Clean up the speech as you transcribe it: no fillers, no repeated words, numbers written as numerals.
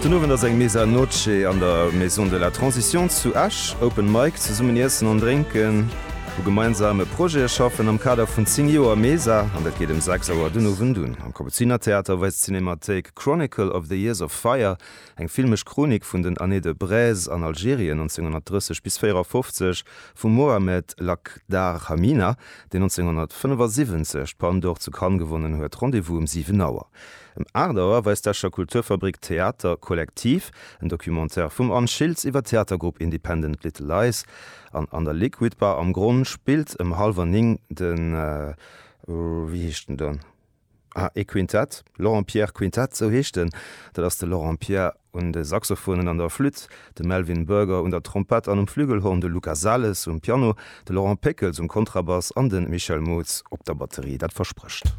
Den Owend ass eng Mesa Noche an der Maison de la Transition zu Esch. Open Mic, zesummen iessen an drénken, u gemeinsame Projete schaffen am Kader vun 10 Joer Mesa. An dat geet ëm 6 Auer den Owend un. Am Kapuzinertheater weist d'Cinemathéik Chronicle of the Years of Fire, eng filmesch Chronik vun den Années de braise an Algerien 1930 bis 54 vum Mohamed Lakhdar Hamina, deen 1975 d'Palme d'Or zu Cannes gewonnen huet. Rendez-vous um 7 Auer. Ëm 8 Auer weist d'Escher Kulturfabrik Theater Kollektiv, en Documentaire vum Anne Schiltz iwwer d'Theatergrupp Independent Little Lies. An an der Liquid Bar am Gronn spillt ëm hallwer 9 den, wéi heescht en dann? Ah, e Quintett, Laurent Pierre Quintett, sou heescht en. Dat ass de Laurent Pierre un de Saxophonen an der Flütt, de Melvin Burger un der Trompett an um Flügelhorn, de Luca Sales um Piano, de Laurent Péckels um Kontrabass an de Michel Mootz op der Batterie. Dat versprécht.